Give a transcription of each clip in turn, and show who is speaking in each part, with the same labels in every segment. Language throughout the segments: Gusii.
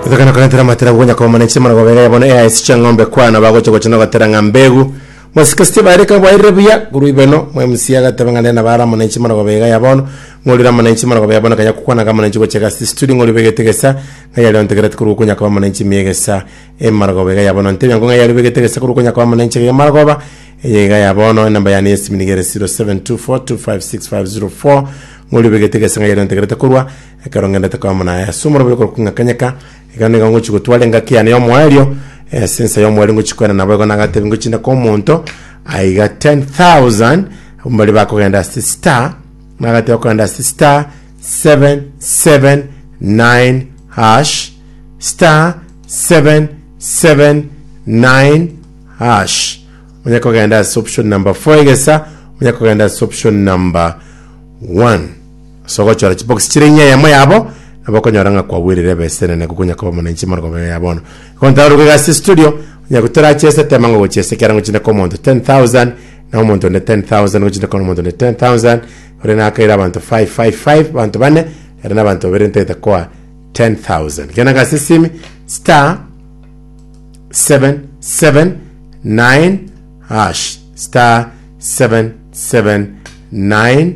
Speaker 1: Gotokana korentera amatera gokonya kobamana enchimana mara gobega bono AIC Chang'ombe kwana bagocha gocha nogotera ng'a mbegu mosike Steve aireka bwairire buya korwa ibeno mwa MC agateba ng'a nere nabara amo nenchi mara gobega ya bono ng'orire amo nenchi mara gobega bono kanya kokwana amo nenchi gocha egasi studio ng'ori begete gesa ng'a yari ontegerete korwa gokonya koba amo nenchi miya egesa emara gobega ya bono ntebia ng'o ng'a yari obegete gesa korwa gokonya koba amo nenchi iga emara goba eye iga ya bono enamba yane y'esimi nigo ere 0724256504 ng'ori obegete gesa ng'a yari ontegerete korwa Ekero ngendete koba naye ase omorobio korokwa ng'a kanyeka, ekero nigo ngochia gotwara engaki yane y'omoerio, ase ensa y'omoerio ngochia koenda nabo igo nagatebia ngochia inde koa omonto aiga 10,000 abwo mbaria bakogenda ase star, nagatebia okogenda ase star 779 hash, star 779 hash. Onye kogenda ase option number 4 egesa, onye kogenda ase option number 1. Ase ogochora chibox chire inye eyemo yabo, nabo okonyora ng'a kwagwerire ebesa enene gokonya koba omonanchi marogoba ya bono. Igo ntaroke iga ase studio, onye gotorachiese tema ng'a ogochiesa ekiagera ngochinde koa omonto 10,000, na omonto onde 10,000, ngochinde koa omonto onde 10,000, ore nakaire abanto 555, abanto bane, ere na abanto babere ntagete koa 10,000. Genda iga ase esimi, star 779 hash, star 779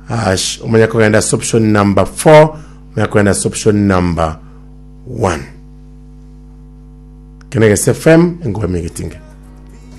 Speaker 1: hash omanye kogenda ase option number 4 omanye kogenda ase option number 1 kene gese fm engobe megetinge.